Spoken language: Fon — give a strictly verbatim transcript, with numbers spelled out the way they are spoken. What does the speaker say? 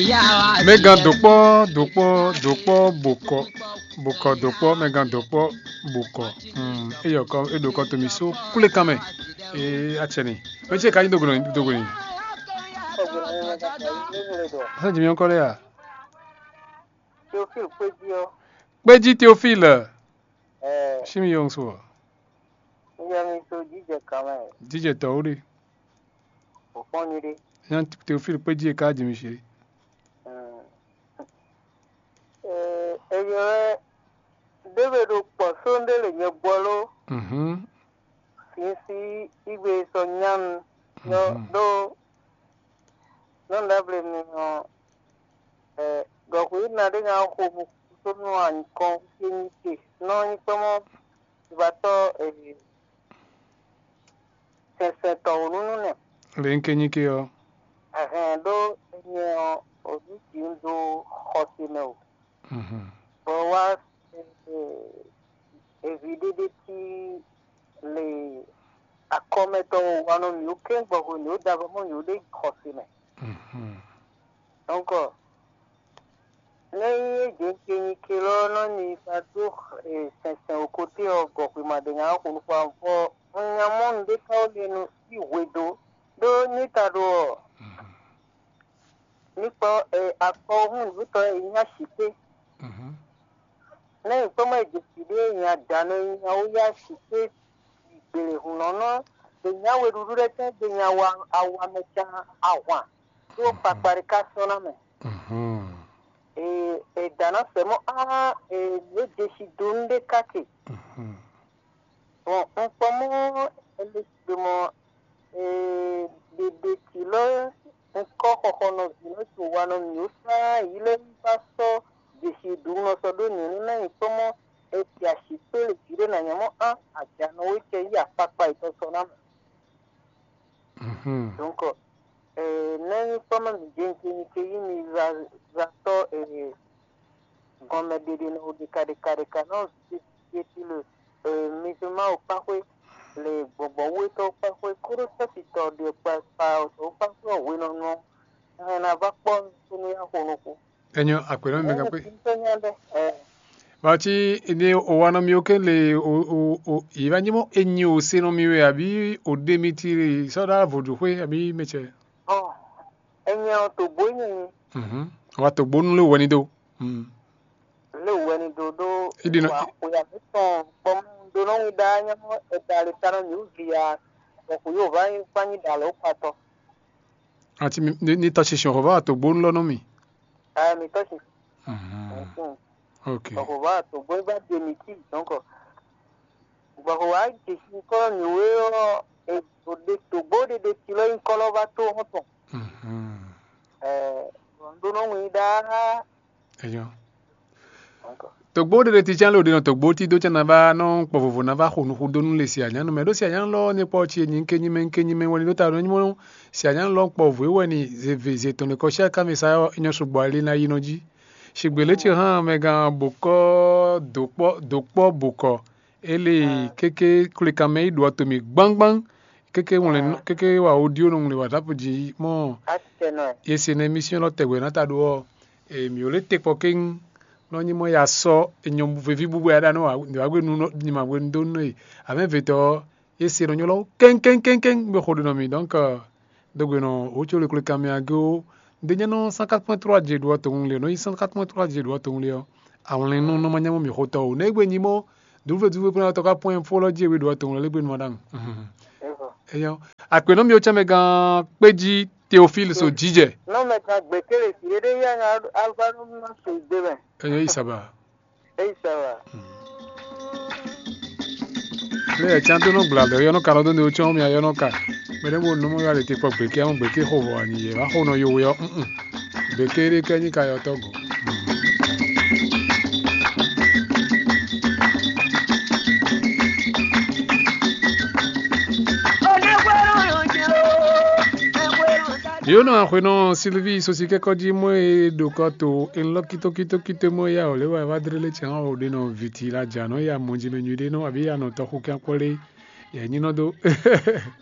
Mɛgán dokpɔ dokpɔ dokpɔ bokɔ bokɔ dokpɔ mɛgán dokpɔ bokɔ. Hmm, eyɔ kɔ eɖo kɔ tomi so kúlé kan mɛ. Ee, atsɛ ni. Mɛ ce ka nyi dogo ni dogo ni. Sɛ jimi ɔkɔ lɛ ya. Théophile Pédia. Pédia Théophile. Ɛɛ, Shimi yong so. Nígbà mi so jíjẹ kan mɛ. Jíjẹ tɔ wuli. Kò fɔn ni ɖe. Yan Théophile Pédia ka jimi shi. Ɛɛ, eyɔ wɛ ɖěwe ɖo kpɔ sóńdé le nyɛ gbɔ ló. Mhm. Sinsi igbe sɔ nyanu nyɔ ɖó nɔ ɖabli mi ɔ, ɛ, gɔxu yi na ɖé nya xo mu kútó nú anyikɔn kényíte nɔ nyí kpɔ́mɔ vivatɔ, ɛ, sɛnsɛn tɔwǔnúnú nɛ. Lě un ke nyí ke ɔ́. Ɛhɛn, ɖó nyɛ ɔ, o ní jǐ un dó xɔse mɛ o. Mhm. Bɔ wá, e, e, evi ɖé ɖé cí le akɔmɛtɔn wá nɔ mǐ ó kɛ́n gbɔ hwenu e ó da avɔ mɔ mǐ ó ɖe xɔse mɛ. Mhm. Donc, nɛ́ nyí é jɛ́n ke nyi ke lɔ nɔ ni ba dó, e, sɛnsɛn o koté ɔ́ gɔxwema ɖé nya xo nukún avɔ un nya mɔ nǔɖé ka ó lɛ nu í hwedo ɖó ní ta ɖo ɔ́. Mhm. Mi kpɔ, e, akpɔhún nǔtɔ́ e nyí asǐkpé. Mhm. Nɛ́ nyǐkɔ́mɔ e jǒ fǐ ɖé e nyí adǎnɔ e nyí awúyá asǐkpé gbělehunɔ́nɔ e nyí aweɖúɖú lɛ́ɛ tɛ́ gbe nyí awa awamɛcan ahwan ɖó kpakpa ɖé ka sɔ́ ná mɛ. Mhm. E, e dǎnɔ sɛ mɔ á, e, nǔ e jeshi dó nú ɖé káke. Mhm. Bɔn un kpɔ́n mɔ Elizabɛ́ti mɔ, ee, ɖeɖe cí lɔ, un kɔ́ xɔxɔnɔví lɔ to wa nɔ mǐ ó sán yi lɛ́ɛ yi fá sɔ́ jeshi ɖu nɔ sɔ́ ɖó nyǐ nú ná nyi kpɔ́n mɔ è ti asǐ kpé le jǐ ɖé ná nyɛ mɔ á ajanɔ wé cɛ yí akpakpa yětɔn sɔ́ ná mɛ. Mhm. Donc, eh, nɛ́ nyí kpɔ́ mɛ mǐ jɛ́n ce nyí ce yí mi za za tɔ́, eh, gɔnmɛ ɖeɖe nɔ ɖeka ɖeka ɖeka nɔ vǐ ce ti le, eh, mi se ma o kpáxwé le gbɔgbɔ wú étɔn kpáxwé kóɖó sɛ́sitɔ ɖe kpa kpa ɔ́ kpáxwé ɔ́ hwenɔ́nu ɔ́, hɛn ná vá kpɔ́ nukún nú yá xo nukún. Enyɔ akpɛnɔ mi gán kpé. Tɔ́ nyá ɖɛ, eh. Vati ni o wa nɔ mi o ke le o o o yi va nyí mɔ enyi o se nɔ mi wɛ abi o ɖe mi ti sɔ ɖa vodu xwe abi mɛ cɛ. Ɔ, enyi ɔ to bo nyi. Mhm. Wa to bo nu le wɛ ni do. Mhm. Le wɛ ni do do. I ɖi nɔ. Wa o ya mi tɔn kpɔm do nɔ wi da nyɛ mɔ e da le ta nɔ mi o vi ya. Bɔ ko yo va yi fa nyi da lo kpatɔ. Ati mi ni ni tɔ sisi xɔ va to bo nu lɔ nɔ mi. Ɛ mi tɔ si. Mhm. Ok. Bɔ ko va to bo ba de mi ki donc. Bɔ ko wa ji si kɔ mi we ɔ e o de to bo de de ti lɔ yi kɔ lɔ va to hɔn tɔn. Mhm. Ɛ, bɔ n do nɔ wi da. Eyo. Donc. Togbo ɖe ɖe ti cán lé o ɖe nɔ togbo ti dó cán na va nɔ kpɔ vovo na va xo nuxu dó nú le si anyánu mɛ ɖó si anyánu lɔ ní kpɔ ci nyi ké nyi mɛ ké nyi mɛ wɛ ní ɖó ta nɔ nyí mɔ si anyánu lɔ kpɔ vovo wɛ ní ze ve ze tɔn ɖe kɔ si aka mɛ sa ɔ nyɔ sugbɔ ali na yi nɔ jí. Sigbe lě ci hã mɛ gán bokɔ dokpɔ dokpɔ bokɔ ele kéké kplikanmɛ yi ɖu ɔtɔn mì gbangban kéké ŋlɛ nɔ kéké wa audio nɔ ŋlɛ WhatsApp jí mɔ ye se nɛ émission lɔ tɛgbɛ na ta ɖo ɔ e mì le te kpɔ kéŋ nɔ nyi mɔ ya sɔ enyɔ vevi bubu ya ɖa nɔ wa gbe nu nɔ nyima gbe nu do nɔ e avɛ vetɔ ye se nɔ nyɔ lɔ kéŋ kéŋ kéŋ kéŋ be xo ɖe nɔ mi donc dogbe nɔ o tso le kplikanmɛ agé o de nyɛ nɔ cent quatre point trois je ɖo ɔtɔn ŋlɛ nɔ yi cent quatre point trois je ɖo ɔtɔn ŋlɛ ɔ awlɛn nɔ nɔ ma nyamɔ mi xotɔ o ne gbe nyi mɔ duve duve pɛnɛ tɔ ka pɔn info lɔ jí ewe ɖo atɔn lɛ lɛgbɛ nɔ ɖaŋu. Eyɔ akpɛnɔ mi o cɛ mɛ gan kpeji Théophile so jijɛ. Nɔ mɛ kan gbɛkɛlɛ si ɖe ɖe ya ŋa alfa nɔ ma so gbe mɛ. Eyɔ isaba. Eyɔ isaba. Lé ɛ can tó nɔ gbla lɛ yɔ nɔ ka nɔ dó ne o cɔn mi ayɔ nɔ ka. Mɛ ɖe bo nɔ mɔ yɔ ale te kpɔ gbɛkɛ ɔn gbɛkɛ xo vɔ ani yɛ va xo nɔ yo wɛ ɔ. Bekere kɛ nyi ka yɔ tɔgɔ. Yonɔ axwenɔ Silvi sosi kɛkɔ ji mɔ e ɖo kɔ to enlɔ kito kito kito mɔ ya o le wa va dre le tiɛ o de nɔ viti la ja nɔ ya mɔ ji mɛ nyui ɖe nɔ abi ya nɔ tɔxu kɛ kpɔ le ya nyinɔ do.